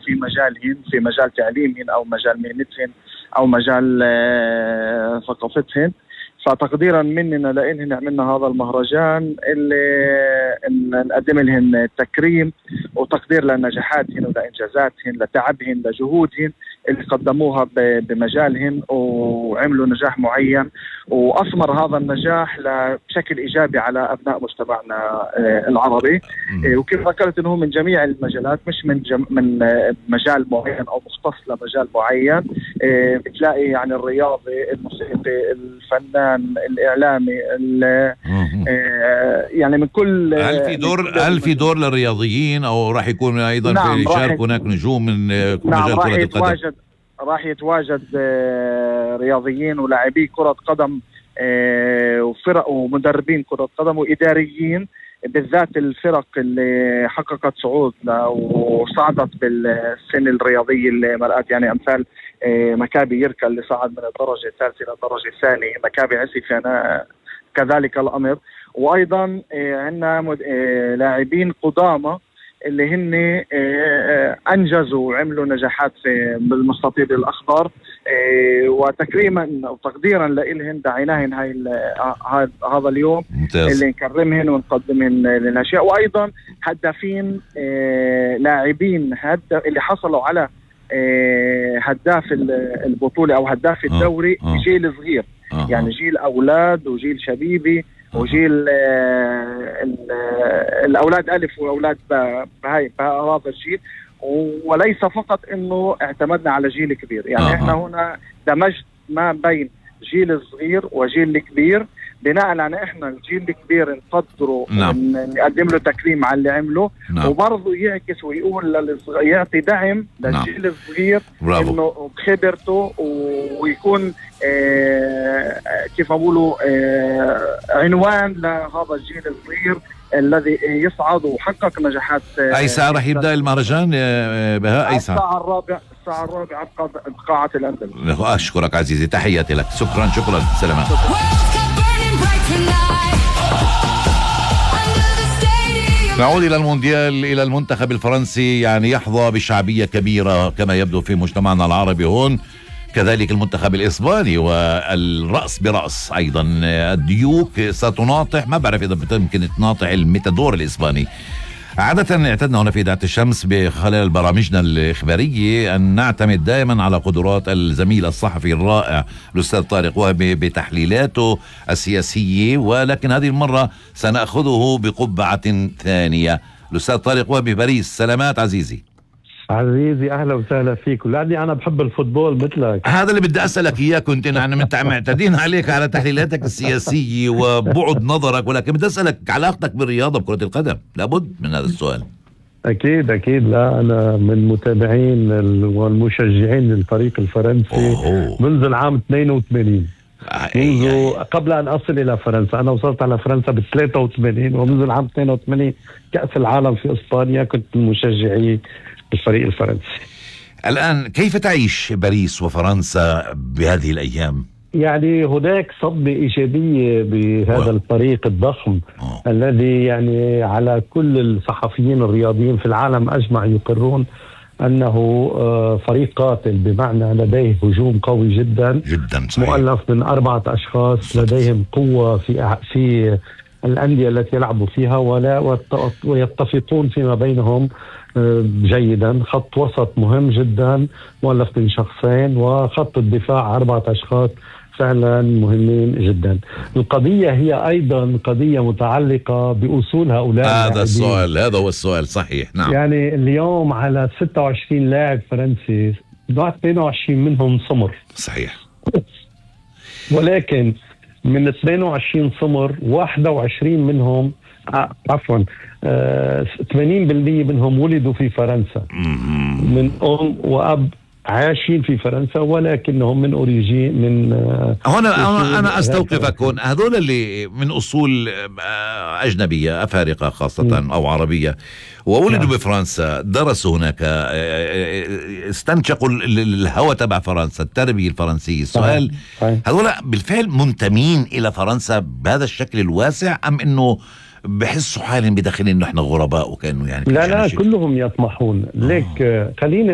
في مجالهن، في مجال تعليمهن أو مجال مهنتهن أو مجال ثقافتهن. فتقديرا مننا لإلهن عملنا هذا المهرجان اللي نقدم لهن تكريم وتقدير لنجاحاتهن ولإنجازاتهن، لتعبهن، لجهودهن اللي قدموها بمجالهن وعملوا نجاح معين، وأثمر هذا النجاح بشكل إيجابي على أبناء مجتمعنا العربي. وكيف ذكرت أنه من جميع المجالات، مش من مجال معين أو مختص لمجال معين. بتلاقي يعني الرياضي، الموسيقي، الفنان، الإعلامي، يعني من كل. هل في دور للرياضيين أو راح يكون أيضا نعم، في يشارك هناك نجوم من نعم مجال كرة القدم؟ راح يتواجد رياضيين ولاعبي كرة قدم وفرق ومدربين كرة قدم وإداريين، بالذات الفرق اللي حققت صعود وصعدت بالسن الرياضية اللي مرقت، يعني أمثال مكابي يركا اللي صعد من الدرجة الثالثة إلى الدرجة الثانية، مكابي عسيفة كذلك الأمر. وأيضا عندنا لاعبين قدامى اللي هن أنجزوا وعملوا نجاحات في بالمستطيل الأخضر، وتكريما وتقديرا لإلهن دعيناهن هذا اليوم ممتاز. اللي نكرمهن ونقدمهن للأشياء. وأيضا هدافين لاعبين اللي حصلوا على هداف البطولة أو هداف الدوري جيل صغير، يعني جيل أولاد وجيل شبيبي وجيل الأولاد ألف وأولاد بهذا الجيل. وليس فقط إنه اعتمدنا على جيل كبير، يعني إحنا هنا دمجت ما بين جيل صغير وجيل كبير، بناء على إحنا الجيل الكبير نقدره نقدم له تكريم على اللي عمله، وبرضه يعكس ويقول يعطي دعم للجيل الصغير إنه بخبرته ويكون كيف أقولوا عنوان لهذا الجيل الصغير الذي يصعد وحقق نجاحات. أي ساعة رح يبدأ المهرجان بها؟ أي ساعة؟ الساعة الرابعة بقاعة الأندلس. أشكرك عزيزي، تحياتي لك. شكرا سلامات. نعود إلى المونديال، إلى المنتخب الفرنسي، يعني يحظى بشعبية كبيرة كما يبدو في مجتمعنا العربي هون، كذلك المنتخب الإسباني والرأس برأس أيضا. الديوك ستناطح، ما بعرف إذا يمكن تناطح الميتادور الإسباني. عادة اعتدنا هنا في إذاعة الشمس بخلال برامجنا الإخبارية أن نعتمد دائما على قدرات الزميل الصحفي الرائع الأستاذ طارق وهبي بتحليلاته السياسية، ولكن هذه المرة سنأخذه بقبعة ثانية. الأستاذ طارق وهبي باريس، سلامات عزيزي. أهلا وسهلا فيك. ولأني أنا بحب الفوتبول مثلك. هذا اللي بدي أسألك إياه، كنت أنا معتدين عليك على تحليلاتك السياسية وبعد نظرك، ولكن بدي أسألك علاقتك بالرياضة بكرة القدم، لابد من هذا السؤال. أكيد. لا، أنا من متابعين والمشجعين للفريق الفرنسي منذ العام 82، منذ قبل أن أصل إلى فرنسا. أنا وصلت على فرنسا ب83، ومنذ العام 82 كأس العالم في إسبانيا كنت من مشجعي الفريق الفرنسي. الآن كيف تعيش باريس وفرنسا بهذه الأيام؟ يعني هناك صدمة إيجابية بهذا الفريق الضخم الذي يعني على كل الصحفيين الرياضيين في العالم أجمع يقرون أنه فريق قاتل، بمعنى لديه هجوم قوي جدا صحيح. مؤلف من 4 أشخاص لديهم قوة في الأندية التي يلعبوا فيها ويتفقون فيما بينهم جيدا. خط وسط مهم جدا مؤلف من شخصين، وخط الدفاع 4 أشخاص فعلا مهمين جدا. القضية هي أيضا قضية متعلقة بأصول هؤلاء هذا هو السؤال صحيح. نعم. يعني اليوم على 26 لاعب فرنسي 22 منهم سمر صحيح، ولكن من 22 سمر 21 منهم 80% منهم ولدوا في فرنسا، من أم وأب عايشين في فرنسا، ولكنهم من أوريجين من هنا أنا أستوقفك هون. هذول اللي من أصول أجنبية، أفارقة خاصة أو عربية، وولدوا بفرنسا، درسوا هناك، استنشقوا الهوى تبع فرنسا، التربية الفرنسية. السؤال هذول بالفعل منتمين إلى فرنسا بهذا الشكل الواسع، أم إنه بحسوا حالهم بداخل إنه إحنا غرباء وكأنه يعني لا كلهم يطمحون لك. خليني